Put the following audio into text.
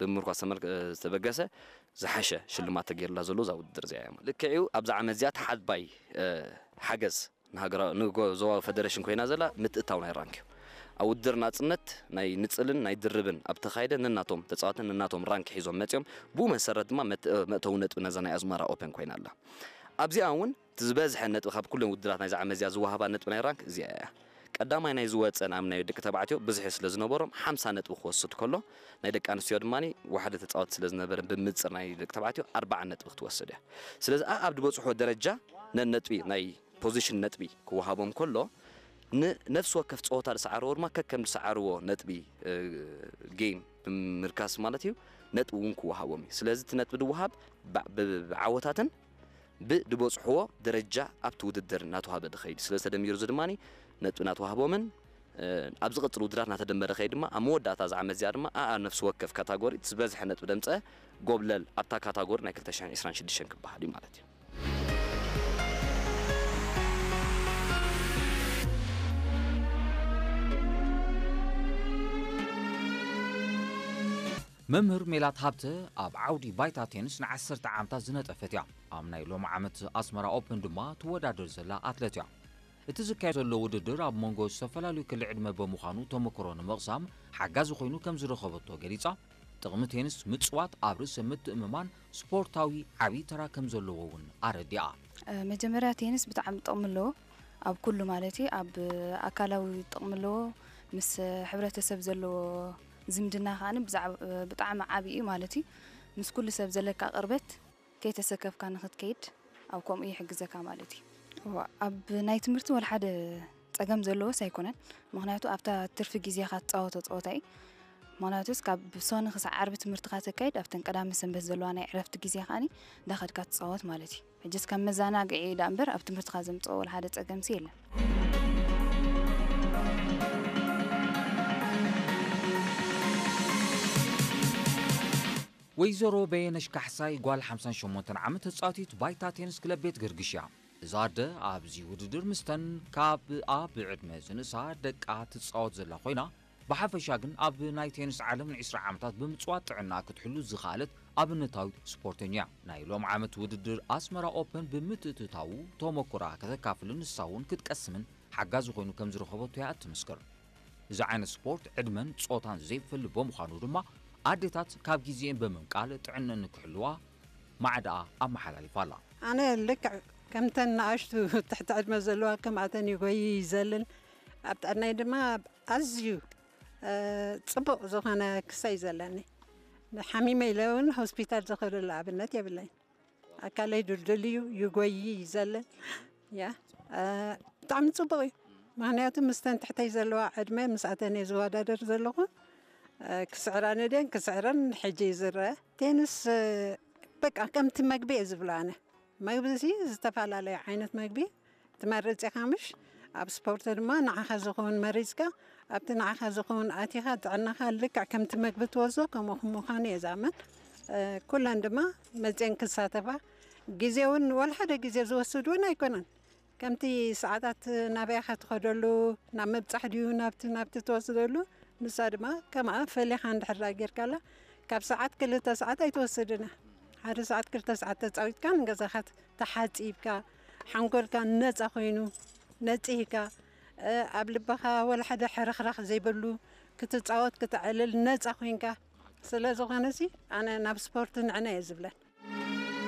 ብምርኳስ ዝተመልከ ዝተበገሰ ዝሓሸ ሽልማት ተገይርላ ዘሎ እዛ ውድድር እዚኣ እያ። ልክዕዩ ኣብዛ ዓመት እዚኣ ተሓባይ ሓገዝ ንሃገራዊ ንዞባዊ ፈደረሽን ኮይና ዘላ ምትእታው ናይ ራንክ እዩ። ኣብ ውድድር ናጽነት ናይ ንጽልን ናይ ድርብን ኣብ ተኻይደ ነናቶም ተጻዋትን ነናቶም ራንክ ሒዞም መጺኦም፣ ብኡ መሰረት ድማ መእተዊ ነጥቢ ነዛ ናይ ኣዝመራ ኦፐን ኮይና ኣላ። ኣብዚኣ እውን እቲ ዝበዝሐ ነጥቢ ካብ ኩለን ውድድራት ናይዚ ዓመት እዚኣ ዝወሃባ ነጥቢ ናይ ራንክ እዚኣ እያ። ቀዳማይ ናይ ዝወፀ ንኣም ናይ ደቂ ተባዕትዮ ብዝሒ ስለ ዝነበሮም ሓምሳ ነጥቢ ክወስድ ከሎ፣ ናይ ደቂ ኣንስትዮ ድማ ዋሓደ ተፃወት ስለ ዝነበረ ብምፅር ናይ ደቂ ተባዕትዮ ኣርባዓ ነጥቢ ክትወስድ እያ። ስለዚ ኣብ ዝበፅሖ ደረጃ ነነጥቢ ናይ ፖዚሽን ነጥቢ ክወሃቦም ከሎ፣ ንነፍሲ ወከፍ ፀወታ ዝሰዓርዎ ድማ ከከም ዝሰዓርዎ ነጥቢ ጌም ብምርካስ ማለት እዩ፣ ነጥቢ እውን ክወሃቦም እዩ። ስለዚ እቲ ነጥቢ ድወሃብ ብዓወታትን ብድበፅሕዎ ደረጃ ኣብቲ ውድድር እናተዋህበ ድኸይድ ስለ ዝተደሚሩ እዚ ድማ ነጥቢ እናተዋህቦምን ኣብ ዝቕፅል ውድድራት እናተደመረ ከይድ ድማ ኣብ መወዳእታ ዝዓመት እዚኣ ድማ ኣኣ ነፍሲ ወከፍ ካታጎሪ ዝበዝሐ ነጥቢ ደምፀ ጎብለል ኣብታ ካታጎሪ ናይ ክልተ ሽሕን ዕስራን ሽዱሽተን ክበሃል እዩ ማለት እዩ። መምህር ሜላት ሃብተ ኣብ ዓውዲ ባይታ ቴንስ ንዓሰርተ ዓመታት ዝነጠፈት እያ። ኣብ ናይ ሎም ዓመት ኣስመራ ኦፕን ድማ ትወዳደር ዘላ ኣትለት እያ። እቲ ዝካየድ ዘሎ ውድድር ኣብ መንጎ ዝተፈላለዩ ክሊ ዕድመ ብምዃኑ ተመክሮ ንምቕሳም ሓጋዚ ኮይኑ ከም ዝረኸበቶ ገሊጻ፣ ጥቕሚ ቴንስ ምጽዋት ኣብ ርእሰ ምትእምማን ስፖርታዊ ዓብዪ ተራ ከም ዘለዎ እውን ኣረዲኣ። መጀመርያ ቴንስ ብጣዕሚ ጥቕሚ ኣለዎ ኣብ ኩሉ ማለት እዩ። ኣብ ኣካላዊ ጥቕሚ ኣለዎ፣ ምስ ሕብረተሰብ ዘለዎ ዝምድና ከዓ ብጣዕሚ ዓብዪ እዩ ማለት እዩ። ምስ ኩሉ ሰብ ዘለካ ቅርበት ከይተሰከፍካ ንክትከይድ ኣብ ከምኡ ይሕግዘካ ማለት እዩ። እዋ፣ ኣብ ናይ ትምህርቲ ወላ ሓደ ጸገም ዘለዎስ ኣይኮነን። ምኽንያቱ ኣብታ ትርፊ ግዜኻ ትጻወቶ ጸወታ እዩ። ምኽንያቱስ ካብ ሶኒ ክሳዕ ዓርቢ ትምህርትኻ ተካይድ ኣብተን ቀዳመ ሰንበት ዘለዋ ናይ ዕረፍቲ ግዜ ከኣኒ እንዳኸድካ ትጻወት ማለት እዩ። ሕጅስ ከም መዘናግዒ እዩ ደኣ እምበር ኣብ ትምህርትኻ ዘምጽኦ ወላ ሓደ ጸገምሲ የለን። ወይዘሮ በየነሽ ካሕሳይ ጓል ሓምሳን ሸሞንተን ዓመት ተጻዋቲት ባይታ ቴንስ ክለብ ቤት ገርግሽ እያ። እዛ ኣደ ኣብዚ ውድድር ምስተን ካብ ኣብ ዕድመ ዝንእሳ ደቃ ትጻወት ዘላ ኮይና፣ ብሓፈሻ ግን ኣብ ናይ ቴንስ ዓለም ንዒስራ ዓመታት ብምጽዋት ጥዕና ክትሕሉ ዝኸኣለት ኣብነታዊት ስፖርተኛ እያ። ናይ ሎም ዓመት ውድድር ኣስመራ ኦፐን ብምትእትታዉ ተመኩራ ከተካፍልን ንሳ እውን ክትቀስምን ሓጋዚ ኮይኑ ከም ዝረኸበቶ እያ እትምስክር። እዚ ዓይነት ስፖርት ዕድመን ጾታን ዘይፈሊ ብምዃኑ ድማ ኣዴታት ካብ ግዜኤን ብምንቃል ጥዕነን ንክሕልዋ ማዕዳኣ ኣመሓላሊፋ ኣላ። ኣነ ልክዕ ከምተን ንኣሽቱ ትሕቲ ዕድመ ዘለዋ ከምኣተን ይጎይ ይዘልል። ኣብ ጥዕናይ ድማ ኣዝዩ ጽቡቕ ዝኾነ ክሳይ ዘለኒ። ሓሚመ ኢለ እውን ሆስፒታል ዝኸደሉ ኣብነት የብለይን። ኣካለይ ድልድል እዩ፣ ይጎይ ይዘልል። ያ ብጣዕሚ ጽቡቕ እዩ። ምኽንያቱ ምስተን ትሕተይ ዘለዋ ዕድመ ምስኣተን እየ ዝወዳደር ዘለኹ። ክስዕራን ድየን ክስዕረን ሕጂ እዩ ዝረአ። ቴንስ በቃ ከምቲ መግቢ እየ ዝብሎ ኣነ። መግቢ እዚ ዝተፈላለየ ዓይነት መግቢ ትመርጽ ኢኻ ምሽ? ኣብ ስፖርት ድማ ንዓኻ ዝኸውን መሪጽካ ኣብቲ ንዓኻ ዝኸውን ኣቲኻ ጥዕናኻ ልክዕ ከምቲ መግቢ ትወስዶ ከምኡ ምዃኑ እየ ዝኣምን። ኩለን ድማ መጽየን ክሳተፋ ግዜ እውን ወላ ሓደ ግዜ ዝወስድ እውን ኣይኮነን። ከምቲ ሰዓታት ናበይ ኢኻ ትኸደሉ፣ ናብ ምብጻሕ ድዩ ናብቲ ናብቲ ትወስደሉ፣ ንሳ ድማ ከምኣ ፈሊኻ እንድሕር ደኣ ጌርካላ ካብ ሰዓት ክልተ ሰዓት ኣይትወስድን እያ። ሓደ ሰዓት ክልተ ሰዓት ተጻዊትካ ንገዛኻ ተሓጺብካ ሓንጎልካ ነጻ ኮይኑ ነጺህካ ኣብ ልብኻ ወላ ሓደ ሕርኽራኽ ዘይብሉ ክትጻወት ክተዕልል ነጻ ኮይንካ ስለ ዝኾነሲ ኣነ ናብ ስፖርት ንዕነ እየ ዝብለን።